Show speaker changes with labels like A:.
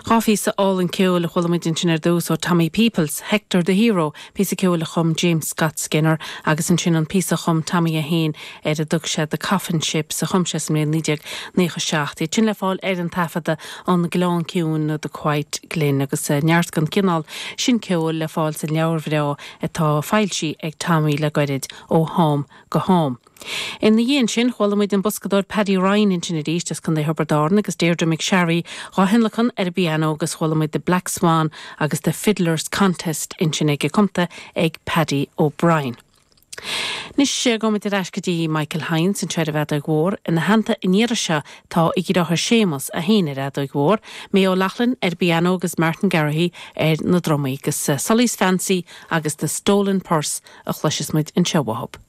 A: Phíosa álainn ceoil a chuala muid ansin ar dtús ó Tommy Peoples, Hector the Hero, píosa ceoil a chum James Scott Skinner agus ansin an píosa a chum Tommy é féin ar a dtug sé The Coffin Ships a chum sé sa mbliain 1997. Iad sin le fáil ar an taifeadadh An Gleann Ciúin nó The Quiet Glen agus neart den chineál sin ceoil le fáil san leabhar bhreá atá foilsithe ag Tommy le goirid, Ó Ham go Ham. Ina dhiaidh sin, chuala muid an boscadóir Paddy Ryan ansin arís as Contae Thiobraid Árann agus Deirdre McSharry dhá thionlacan ar an bpianó agus chuala muid The Black Swan agus The Fiddler's Contest ansin aige cumtha ag Paddy O'Brien. Anois gabhfaidh muid ar ais go dtí Michael Hynes anseo ar an bhfeadóig mhór. Ina theannta an iarraidh seo tá a dheartháir Séamus, é féin ar fheadóig mhór, May O'Loughlin ar an bpianó agus Martin Garrihy ar na drumaí agus Sully's Fancy agus The Stolen Purse a chloisfeas muid anseo uathu.